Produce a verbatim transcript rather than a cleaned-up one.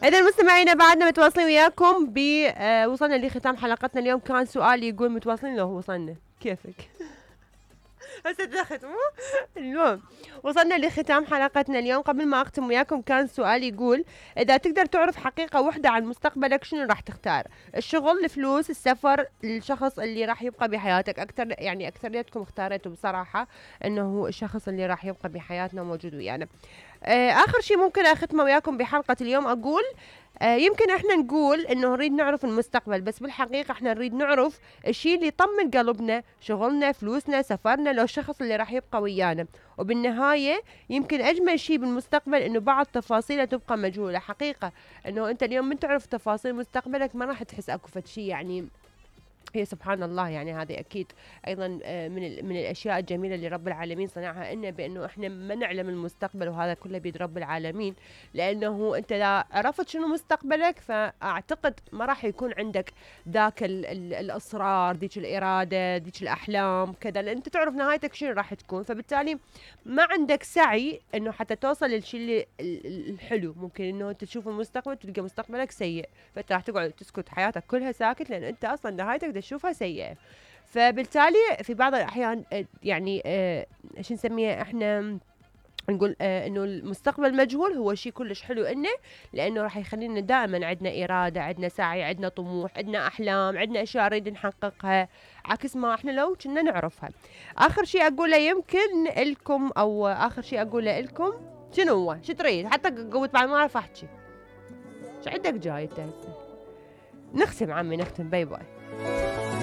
إذا مستمعينا بعدنا متواصلين وياكم ب آه وصلنا لختام حلقتنا اليوم. كان سؤال يقول متواصلين لو وصلنا كيفك هسه دخلت مو المهم وصلنا لختام حلقتنا اليوم. قبل ما اختم وياكم كان سؤال يقول اذا تقدر تعرف حقيقة واحدة عن مستقبلك شنو راح تختار؟ الشغل، الفلوس، السفر، الشخص اللي راح يبقى بحياتك؟ اكثر يعني اكثريتكم اختاريتوا بصراحة انه هو الشخص اللي راح يبقى بحياتنا موجود ويانا. آه اخر شيء ممكن اختمه وياكم بحلقة اليوم اقول آه يمكن احنا نقول انه نريد نعرف المستقبل، بس بالحقيقة احنا نريد نعرف الشيء اللي يطمن قلبنا، شغلنا، فلوسنا، سفرنا، لو الشخص اللي راح يبقى ويانا. وبالنهاية يمكن اجمل شيء بالمستقبل انه بعض تفاصيله تبقى مجهولة. حقيقة انه انت اليوم من تعرف تفاصيل مستقبلك ما راح تحس اكو فد شيء يعني هي سبحان الله. يعني هذه اكيد ايضا من من الاشياء الجميله اللي رب العالمين صنعها لنا، بانه احنا ما نعلم المستقبل، وهذا كله بيد رب العالمين. لانه انت لا عرفت شنو مستقبلك فاعتقد ما راح يكون عندك ذاك ال ال الاصرار، ذيك الاراده، ذيك الاحلام كذا، لان انت تعرف نهايتك شنو راح تكون، فبالتالي ما عندك سعي انه حتى توصل للشيء الحلو. ممكن انه انت تشوف المستقبل تلقى مستقبلك سيء، فانت راح تقعد تسكت حياتك كلها ساكت، لان انت اصلا نهايتك تشوفها سيئة. فبالتالي في بعض الأحيان يعني آه شو نسميها احنا نقول آه انه المستقبل مجهول هو شيء كلش حلو انه، لانه راح يخلينا دائما عندنا إرادة، عندنا سعي، عندنا طموح، عندنا أحلام، عندنا أشياء نريد نحققها، عكس ما احنا لو كنا نعرفها. آخر شيء أقوله يمكن لكم أو آخر شيء أقوله لكم شنو هو؟ شو تريد؟ حتى قوت بعد ما أعرف أحكي. شو عندك جاي أنت هسه؟ نختم عمي نختم. باي باي.